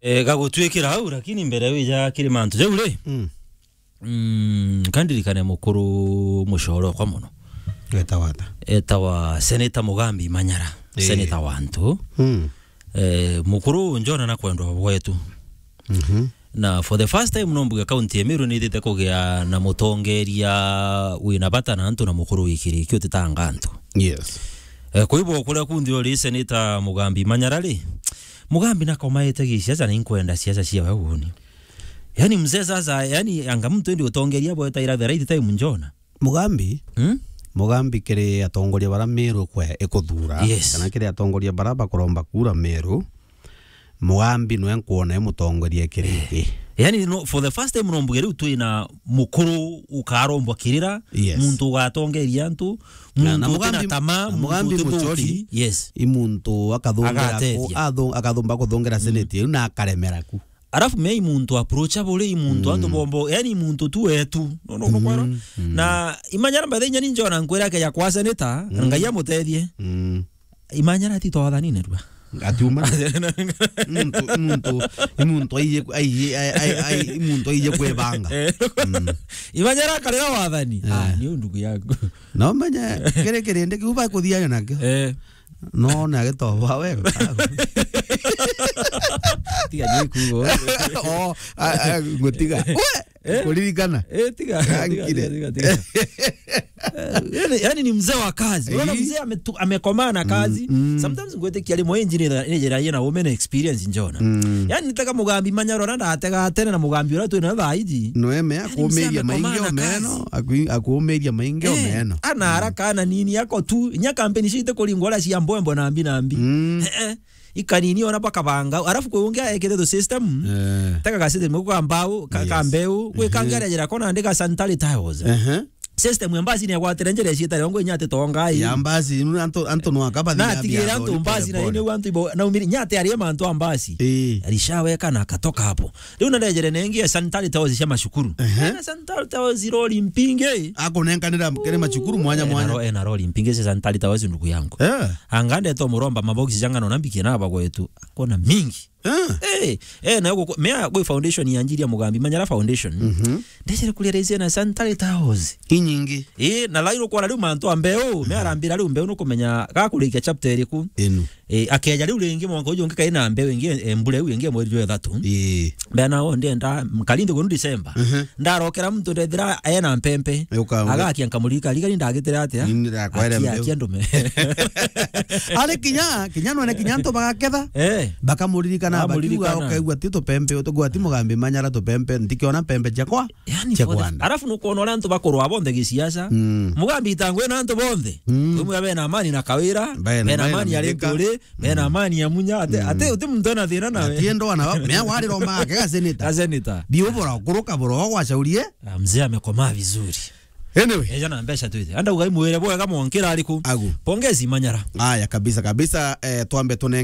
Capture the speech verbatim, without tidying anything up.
Eh, gagutwikira au, lakini mbere wija kiri mantu jau ri. Mm. Mm, kandirikane mukuru mucoro kwa muno. Etawa ata? Etawa Senator Mugambi Manyara. Eh. Senator wantu. Mm. Eh, mukuru njona na kwendwa bwetu. Mhm. Na for the first time no mbuge kaunti ya Meru nithite kugia na mutongeria wina bata na antu na mukuru wikiriki utitanga antu. Yes. Eh, kwa hivyo kuria kundi ori Senator Mugambi Manyara ri, Mugambi nakomaete gisiasa na inkwenda siasa cia we uni. Yani mzee sasa, yani anga mtu endi utongeria bwetaira the right time njona. Mugambi? Hmm? Mugambi kiri atongoria bara Meru kwe ikuthura, yes, kana kiri atongoria bara bakuromba kura Meru, Mugambi nwe nkwona e mutongoria kiriki. Eh. Yani no, for the first time no mbuge riu twina mukuru ukarombwa kirira, yes, muntu ugatongeria antu, na, muntu na utina Mugambi, tamaa, na muntu Mugambi utithuki. Muchori, yes, i muntu akathungira ku-, agateethia, athu-, akathumba kuthungira, mm, senate iu na akaremera ku. Arafu me i muntu approachable, i muntu, mm, antu bombo, yani i muntu tu wetu. No, no, no, mm, kwero. Mm. Na imanyara mbathenya ni njona nkwira akeja kwa senator, mm, Ngai amutethie. Mm. Imanyara ti twathanine rua. Atiuma. Muntu, muntu, muntu aije, aije, ai, ai, ai, muntu aije kwebanga. Eh. Mm. Imanyara akarira wathani. Eh. Ah, ni undugu yangu. No menya, kiri kirindi kiu bakuthiayo nakio. Eh. No, na gitoba we. Tiga ni kugo. Oh, a, a, ngutiga. We, eh? Kuririkana? Eh, tiga, tiga, tiga, tiga, tiga. Eh, yani, yani ni mzee wa kazi. Unaona, eh, mzee ametu-, amekomaa na kazi. Mm, mm. Sometimes ngwitikia rimwe injini ni njira yina women experience njona. Mm. Yani nitega Mugambi Manyara na ndatega tene na Mugambi ura twina thaa iji. No eme, yani mzee akumiria amekomaa maingi na omeno, kazi. Aku-, akumiria maingi, eh, omeno. Ana haraka, ana nini, yako tu, inya kampeni cite kuringwa ura cia mbwembwe na mbi na mbi. Mm. Eh, eh. Ikanini ona bakabanga, arafu kwi ungi aekete tu system. Eh. Taka ga system kwa mbau, ka, ka, yes, mbeu, kwi kangi, ehe, arejera kona ndi ga sanitary towels. Ehe. System ya mbasi ni agwatire njira ciita rongo inya ati tongai. Ya mbasi, nu antu, antu no akabathi na atigire antu mbasi na ine antu ibo, na umiri, inya ati arie mantu a mbasi. Eh. Alishaweka na akatoka hapo. Riu na ndejere nengi ya sanitary towels cia macukuru. Ehe. Na sanitary towels rori mpingi. Akunenkanira kiri macukuru mwanya mwanya. Eh, na ro-, eh, na rori mpingi cia sanitary towels ndugu yangu. Eh. Anga ndeto muromba maboksi janga no nambikie na bagwetu. Akona mingi. Eh. Eh, eh, na guku-, mea gwi foundation ya Njiri ya Mugambi, Manyara Foundation. Mhm. Ndecere kuria raise na sanitary towels. Inyingi. Eh, na lairo kwa riu mantu a mbeu, mhm, me arambira riu mbeu nukumenya gakurikia chapter iriku. Inu. Eh, akeja riu ringi mwanka uju ungi kaina mbeu ingi, eh, mbure u ingi mweri jwa ithatu. Eh. Mbea nao ndienda, nkari nthiguru December. Mhm. Ndarokera muntu ndethira ena mpempe. Uka-, uka- Agakia nkamurika, rika ni ndagitire atia? Ni ndirakwere mbeu. Akia ndume. Ari kinya, kinya nwene kinya antu bagaketha. Eh. Bakamuririkana, bakiuga ukaigua ti tupempe, utuigua ti Mugambi Manyara tupempe, ntikiona mpempe ciakwa. Yani, cia for the, kwanda. Arafu nukwona uria antu bakurwa bonthe gisiasa. Mm. Mugambi itangwe na antu bonthe. Mm. Umwe bena amani na Kawira, bena, bena amani ya Rinturi, bena amani ya Munya, ate, mm, ate uti muntu ena thina nawe. Atiendo ana, mea wari roma ake ga senator. Ga senator. Biu bora kuruka bora gwacaurie. Ah, mzee amekomaa vizuri. Anyway. Eja na mbeca twite. Anda ugai mwire bwega mwankira ariku. Agu. Pongezi Manyara. Aya, kabisa, kabisa, eh, twambe tune